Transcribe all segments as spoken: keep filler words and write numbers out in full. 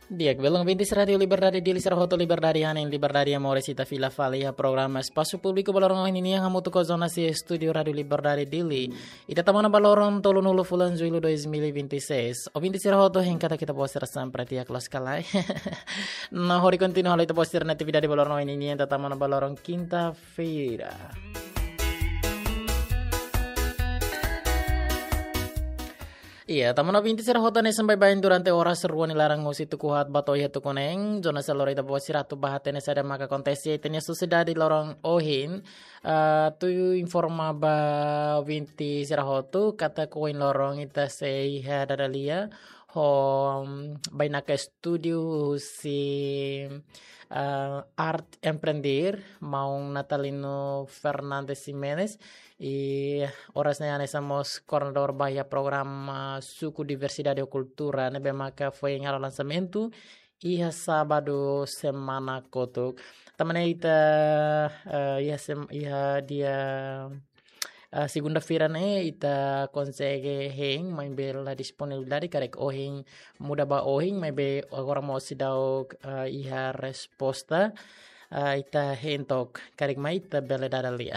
Di'ak, belun ouvintes Rádiu Liberdade Dili sira hotu, liberdade hanesan liberdade moris, ita fila fali iha programa Espasu Públiku ba loron ohin nian hamutuk ho jornalista estúdiu Rádiu Liberdade Dili. Ita tama ona ba loron tolunulu fulan Jullu dois mil e vinte e seis. Ouvintes sira hotu, hein katak ita-boot sira sempre di'ak loos ka lae? No hodi kontinua halo ita-boot sira-nia atividade ba loron ohin nian, ita tama ona ba loron kinta-feira. Iya, tama ona ouvintes sira hotu, hanesan baibain durante oras rua nia laran husi tuku haat ba to'o iha tuku neen, jornalista lori ita-boot sira atu bá hatene saida maka akontese iha ita-nia sosiedade loron ohin. Ah, atu informa ba ouvintes sira hotu katak ohin loron ita sei iha dada lia ho, mm, bainaka estúdiu husi, ah, Arte Empreender, maun Natalino Fernandes Ximenes, i oras ne'e hanesan mós koordenadór ba iha programa Suku Diversidade ho Kultura, ne'ebé maka foin halo lansamentu iha sábadu semana kotuk. Tanba ne'e ita, eh, iha sem-, iha dia, eh, segunda-feira ne'e ita konsege hein, maibé la disponibilidade, karik ohin muda ba ohin, maibé agora mós seidauk, eh, iha resposta. Ah, ita hein took, karik mai ita bele dada lia.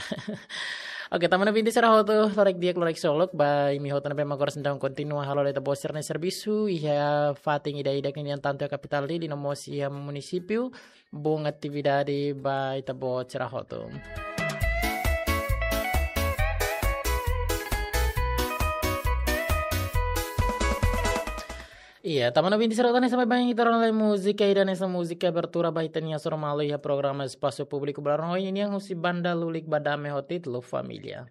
Oke, tama ona ouvintes sira hotu, loron di'ak, loron solok ba imi hotu ne'ebé mak agora seidauk kontinua halo ita-boot sira-nia servisu iha fatin ida-idak nian, tantu iha kapitál Dili no mós iha munisípiu. Boa atividade ba ita-boot sira hotu. Iya, tama ona ouvintes sira hotu, hanesan baibain ita rona lai múzika ida hanesan múzika abertura ba ita-nia hasoru malu iha programa Espasu Públiku ba loron ohin nian, husi banda Lulik Badame ho títulu Família.